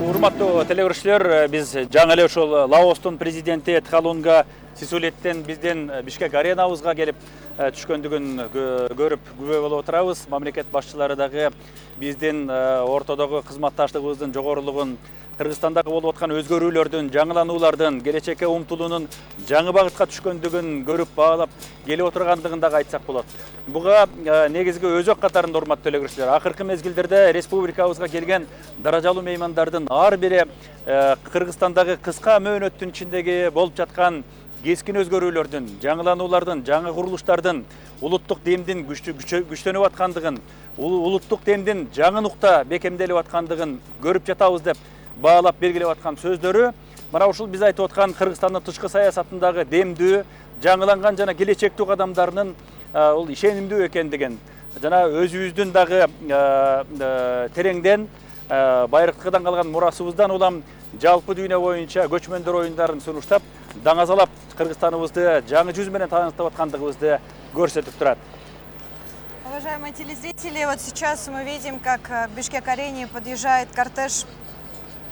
Урматтуу телегөрүүчүлөр, биз жаңы эле ушул Лаостун президенти Тхалунга Сисулеттен бизден Бишкек аренабызга келип түшкөндүгүн көрүп күбө болуп отурабыз. Мамлекет башчылары дагы биздин ортодогу кызматташтыгыбыздын жогорулугун, Кыргызстандагы болуп аткан өзгөрүүлөрдүн, жаңылануулардын, келечекке умтулуунун жаңы багытка түшкөндүгүн көрүп баалап келип отургандыгын дагы айтсак болот. Буга негизги өзөк катарында урматтуу телегөрүүчүлөр, акыркы мезгилдерде республикабызга келген даражалуу меймандардын ар бири Кыргызстандагы кыска мөөнөттүн ичиндеги болуп жаткан кескин өзгөрүүлөрдүн, жаңылануулардын, жаңы курулуштардын, улуттук демдин күчтөнүп аткандыгын, улуттук демдин жаңы нукта бекемделип аткандыгын көрүп жатабыз деп баалап белгилеп аткан сөздөрү мына ушул биз айтып аткан Кыргызстандын тышкы саясатындагы демдүү, жаңыланган жана келечектүү кадамдарынын бул ишенимдүү экендигин жана өзүбүздүн дагы тереңден байыркыдан калган мурасыбыздан улам жалпы дүйнө боюнча көчмөндөр оюндарын сунуштап, даңазалап Кыргызстаныбызды жаңы жүз менен тааныштап аткандыгыбызды көрсөтүп турат. Уважаемые телезрители, вот сейчас мы видим, как к Бишкек-арене подъезжает кортеж